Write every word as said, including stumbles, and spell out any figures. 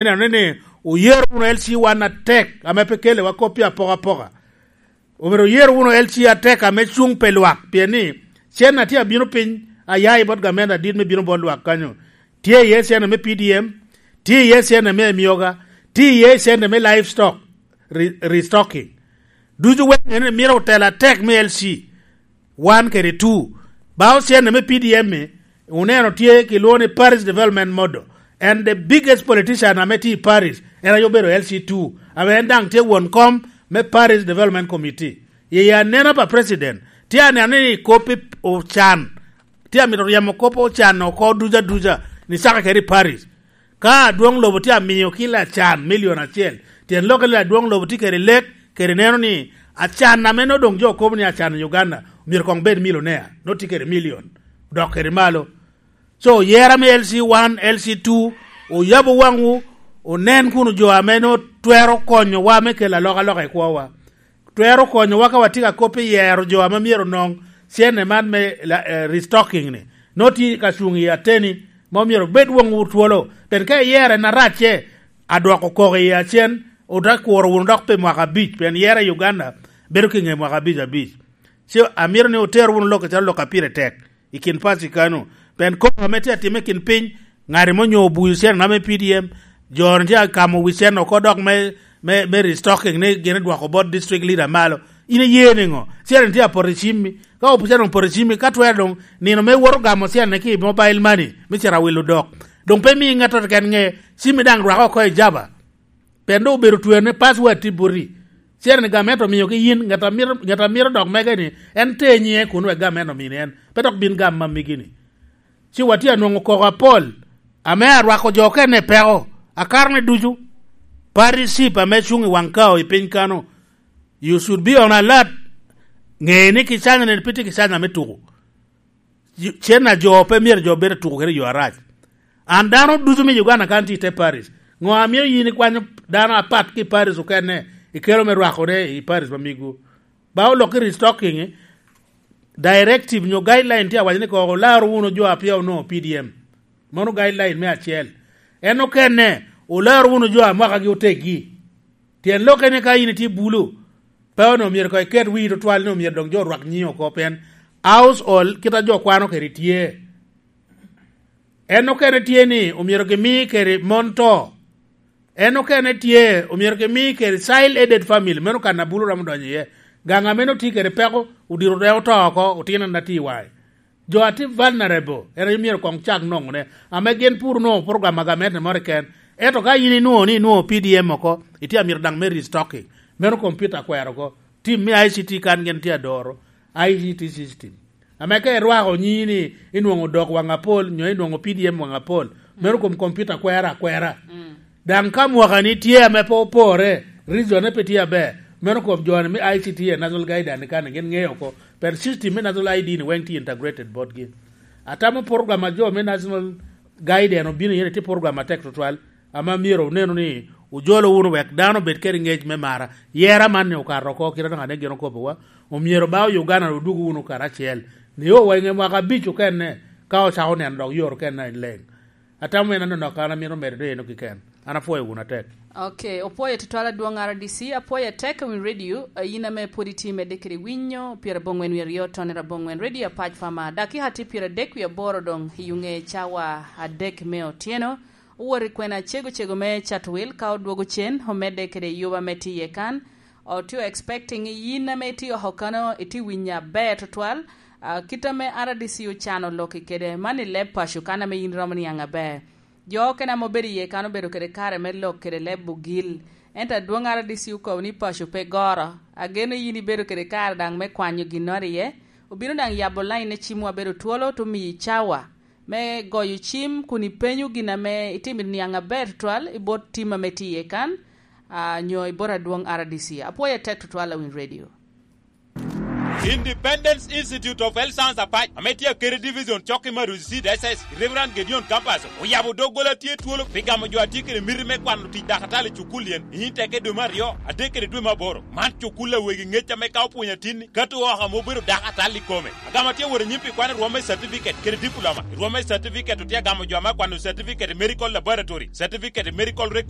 Ineno ni oyero wunu L C one atek ame pe kelewa kop pi apokapoka. Omyero oyero wunu L C atek ame cuŋ pe lwak, pien ni cen a tye abino piny aya i bot gamente adit me bino bot lwak kanyo. Tye iye cen ame P D M, tye iye cen ame emioga, tye iye cen ame livestock, re-, restocking. Ducu weŋ en myero otelo atek me L C one kede two. Ba ocenne me P D M-mi, oneno tye kilwongo ni Parish Development Model. And the biggest politician ame tye i Parish, en aye obedo L C two, ame en daŋ tye won kom me Parish Development Committee. Yeye anena pa president, tye aneno ni kop i ocan, tye amito ryemo kop ocan oko duca duca, ni caka kede i Parish. Ka adwoŋ lobo tye amiyo kilo acan milion acel, tyen lokke ni adwoŋ lobo tye kede lek, kede neno ni acan ame nongo doŋ jo kobo ni acan i Uganda, myero koŋ bed milionea, nongo tye kede milion, dok kede malo. So, yera me L C one, L C two, oyabo waŋwu, onen kun jo ame nongo twero konyowa me kelo alokaloka i kwowa. Twero konyowa ka watye ka kop i yero jo ame myero onoŋ cene man me la-, eh, restocking-ni. Nongo tye ka cuŋ i ateni, ma myero obed woŋwu twolo. Pien ka iyero en aracce, adwoko koko i acen, ote kuro wunu dok pi mwaka abic, pien yero i Uganda bedo ki ŋe mwaka abic abic. Ci amito ni oter wunu lok acalo lok a pire tek i kin paci kano. Pien koko ame tye atimme i kin piny, ŋat ame onyo obuyo cene na me P D M, jo-ni tye akamo wi cene oko dok me, me, me restocking ni gin edwoko bot district leader malo. In iye niŋo? Cene tye apoto i cimmi. Ka opo cene opoto i cimmi, ka twero doŋ nino me iwoto gamo cene ki i mobile money, me cito awilo dok. Doŋ pe imi ŋattoro keken ŋe, cimmi daŋ rwako oko i jaba. Pien doŋ obedo twene, password tye boti. Cene-ni gamente omiogi yin, ŋat a mito, ŋat a mito dok mege-ni, en te nyiŋe kun wek gamente omini en, pe dok bin gam ma migi-ni. Ci watye anwoŋo koko apol, ame arwako jo okene i peko, akarone ducu. Party chief ame cuŋ i waŋ kao i piny kano, you should be on alert. Ŋe ni kicanyone pe tye kicanya me tuko. Cen a jo pe myero jo bed atuko kede yo arac. An dano ducu me Uganda kan tye i te Paris. Ŋo a mio yin ikwanyo dano apat ki i Paris okene, ikelo me rwakone i Paris ma migwu? Ba olok i restocking, directive nyo guideline tye awaco ni ko olaro wunu jo a pia onongo P D M. Mano guideline me acel. En okene, olaro wunu jo a mwakagi oteggi. Tyen lokke ni ka in itye bulu, pe onongo myero koŋ iket wii tutwal ni omyero doŋ jo orwak nyiŋi oko, pien household kit a jo kwano kede tye. En okene tye ni omyero gimi kede mon to. En okene tye omyero gimi kede child aided family, meno kan a bulu romo donyo iye. Gaŋ a meno tye kede peko, odiro dwe oto oko, otino na tye i waŋe. Jo a tye vulnerable, en aye myero koŋ cak nwoŋone, ame gin pur onwoŋo program a gamente moro keken. Ento ka in inwoŋo ni inwoŋo P D M oko, itye amito daŋ me restocking, meno computer kwero oko. Tim me I C T kan gin tye adoro, I C T system. Ame ka irwako nyini inwoŋo dok waŋ apol, nyo inwoŋo P D M waŋ apol, meno kom computer kwero akwera. Daŋ ka mwakani tye ame pe opore, region-ne pe tye aber, meno kom jo-ni me I C T e National Guidance kan gin ŋeyo oko, pien system me National I D-ni weŋ tye integrated botgi. Atamo program a jo me National Guidance obino iye-ni tye program atek tutwal, ame myero onenu ni ojolo wunu wek dano obed kede ŋec me mara. Yera man-ni okato oko, kit anaka ne gin okobowa, omyero ba Uganda odwogo wunu karacel. Nio wa i ŋe mwaka abic okene, ka ocako neno dok yoro okene en leŋ. Atamo en anonok, an amito medo doŋ eno keken. An apwoyo wunu atek. Ok, opwoyo tutwal adwoŋ R D C, apwoyo atek i wi radio, eh, in ame pwod itye medde kede winyo, pyerabongwen wi aryo tone rabongwen radio apac pama. Dakika tye pyeradek wi aboro doŋ i ŋe cawa adek me otyeno. Owot i kwena cego cego me Chatwil, ka odwogo cen, omedde kede yuba me tiye kan. Otye expecting yin ame itye oko kano, itye winyo aber tutwal. Ah, kit ame R D C ocano lok kede man i leb paco kan ame yin iromo niaŋ aber. Jo okene ame obedo iye kan obedo kede kare me lok kede leb ogil. Ento adwoŋ R D C okobo ni paco pe goro. Ageno yin ibedo kede kare daŋ me kwanyo ginnoro iye. Obino daŋ yabo lain ne cimwa bedo twolo, to miyi cawa me goyo cim kun ipenyo gin ame itimo i niaŋ aber tutwal i bot tim ame tye iye kan, ah, nyo i bot adwoŋ R D C. Apwoyo atek tutwal, Awiny Radio. Independence Institute of Health Science Apac, ame tye akede Division Cokki Maruzi C D S S, Reverend Gedeon Campus, oyabo doggola tye twolo pi gamo jo a tye kede miti me kwano tic dakatali i cukul yen i Inteke dwe me aryo, adek kede dwe me aboro. Man cukul a wegi ŋec ame ka opwonyo atinni, ka to oko ame obedo dakatali i kome. Agamo atye wot anyim pi kwano rwom me certificate kede diploma. Rwom me certificate otye agamo jo ame akwano certificate i medical laboratory, certificate i medical record,